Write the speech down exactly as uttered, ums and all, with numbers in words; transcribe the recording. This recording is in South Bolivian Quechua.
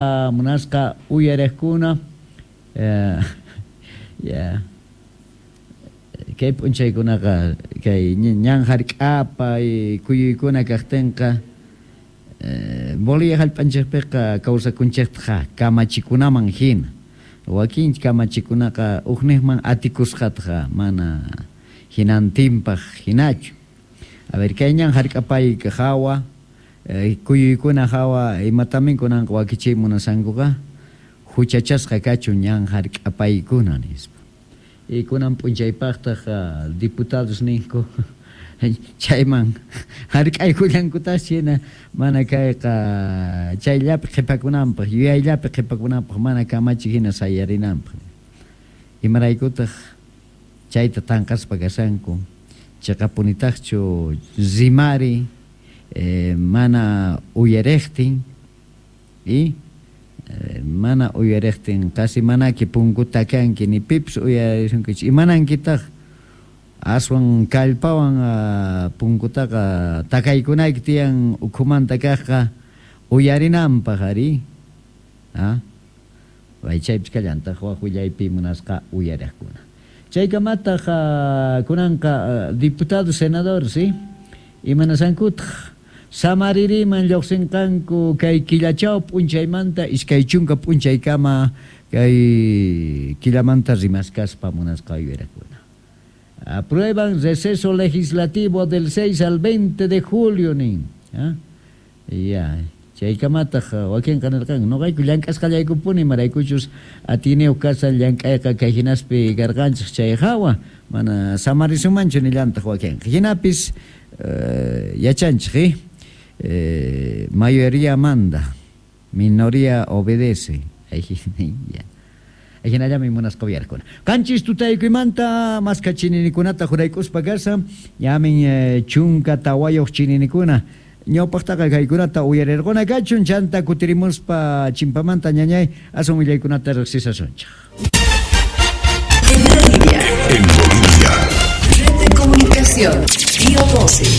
Munasqa uyariqkuna, eh, ya kay p'unchaykunaqa kay ñan hark'apay kuyuykuna kaqtinqa, eh, Bolivia hallp'anchikpiqa kawsakunchiktaqa kamachikunaman hina, wakin kamachikunaqa ukniqman atikusqataqa mana hinantinpaq hinachu. A ver, kay ñan hark'apay hawa, eh, kuyuykuna hawa imatamin kunanqa wakichiy munasankuqa huchachasqa kachun ñan hark'apaykuna nispa. Y kunan p'unchaypaqtaq uh, diputados ninku chayman hark'aykullankutas hina mana kayqa chayllapi qhipakunanpaq, yuyayllapi qhipakunanpaq, mana kamachi hina sayarinanpaq. Imaraykutaq chayta tanqaspa kashanku, chiqapunitaqchu rimari, eh, mana uyariqtin y eh, mana uyariqtin qasi manaki punkuta kanki ni pipis uyarisunkichu, imanankitaq aswan kallpawan uh, punkutaqa takaykunayki tiyan ukhumanta kaqqa uyarinanpaq ari, ah chaypis kallantaq wak willaypi munasqa uyariqkuna. Chaykamataq uh, kunanqa uh, diputado senador, ¿sí? Imanasankutaq samaririman lluqsinqanku kay killachaw p'unchaymanta iskay chunka p'unchaykama kay killamanta rimaskaspa munasqa uyariqkuna. Aprueban receso legislativo del seis al veinte de julio nin. ¿Ah? Ya, chaykamataq wakinqa nirqanku noqayku llank'asqallaykupuni imaraykuchus atiyniyuq kashan llank'ayqa kay hinaspi karqanchik chay hawa mana samarisumanchu nillantaq wakinqa. Hinapis eh, yachanchik, eh, mayoría manda, minoría obedece. Ya. Hinallami munasqa uyarkuna. Qanchis tutaykuymanta maska chininikunata juraykuspa kasa, ñamin eh, chunka tawayuq chininikuna. Ñawpaqtaqa kaykunata uyarirquna kachun, chanta kutirimuspa chimpamanta ñañay aswan willaykunata riqsisasunchik. En Bolivia. En Bolivia. Red de comunicación. Bio doce.